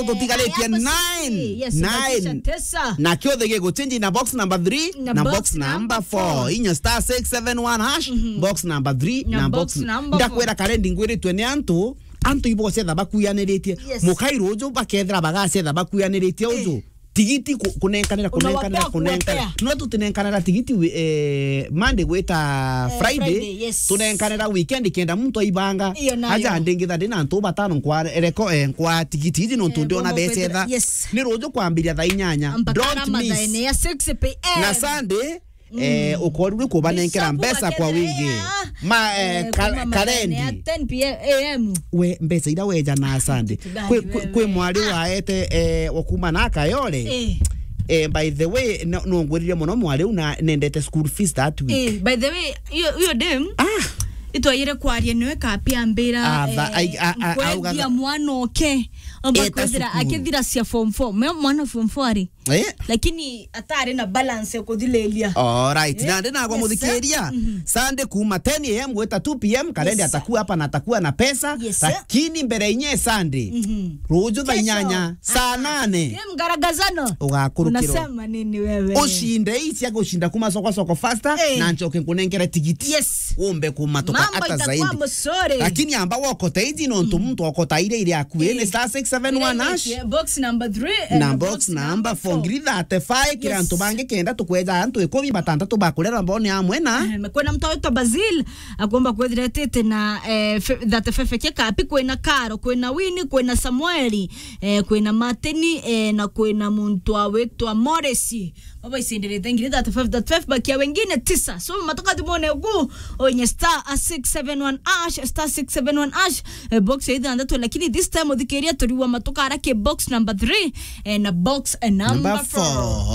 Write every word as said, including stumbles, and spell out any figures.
Tutigarite nine. Yes, nine. Tisa. Na kiothe giguchinji na box number three, na box number four. Inya star six seven one hash, box number three, na box number four. Ndakwira karendi ngwiritwe ni antu, antu ibo cetha bakuyaniritie. Yes. Mukai ruju bakethira bagacetha bakuyaniritie uju. Tigiti ku-, kunenkanira, kunenkanira, kunenkanira. No tutinenkanira tigiti wi-, eh, Monday gwita Friday. Friday, yes. Tunenkanira weekend kenda muntu aibanga. Iyo nayo. Aja ndingitha ndina antu batano nkwa reko, eh, nkwa tigiti iji nontu ndiona becetha. Yes. Ni ruju kwambiria thaa inyanya. Don't miss. Mpaka mathaene ya six p m. Na Sunday, eh, ukorirwe kubanengera mbeca kwa wingi. Ma, eh, ka-, kuma mathaene ya karendi. Ten p m. We, mbeca ira weja na Sunday. Kwi, kwi, kwi mwari waete, eh, wa kuma na Kayole. Eh. Eh, by the way, no, nongwirire muno mwari u na nendete school fees that week. Eh, by the way, iyo, iyo dem, itwayire kwaria niwe kapi ambira, ah, tha-, eh, ai-, a-, a-, nkwendia augaga mwana oke. Amba eta kwithira cukuru. Akithira cia form four. Me mwana form four ari? Eh? Lakini atari na balance ya kuthililia. All right. Eh? Na ndi nagwa muthikiria. Sunday kuma ten a m gwita two p m, karendi atakuwa hapa na atakuwa na pesa. Yes, sir. Lakini mbere inye Sunday. Ruju thaa inyanya, saa nane. Ye mgaragazano. Ugakurukirwa. Unasema nini wewe? Ushinde hii cia gushinda kuma soko soko faster, eh, na nchoke nkunengere tigiti. Yes. Umbe kumatoka. Mambo hata itakuwa zaidi. Mzuri. Lakini amba wokota hizi nontu muntu okota ile ile akue ni star six seven one hash. Box number three, eh, na box number four. Ngiri thirty-five, kira antu bangi kenda tukweja antu ikumi batantatu bakurera mbone amwe na. Eh, kwena mtu wetwa Basil, akomba kwethiretete na, eh, fe-, thirty-five kia kapi, kwena Karo, kwena Winnie, kwena Samueli, eh, kwena Martini, eh, na kwena muntu awetwa Moresi. Baba icindirite ngiri thirty-five, thirty-five, bakia wengine tisa. So, matoka thimone ugu, onye star six seven one hash, star six seven one hash, eh, box ya ithanthatu, lakini this time uthikiria turiwa matoka ara ki box number three, eh, na box, eh, number four.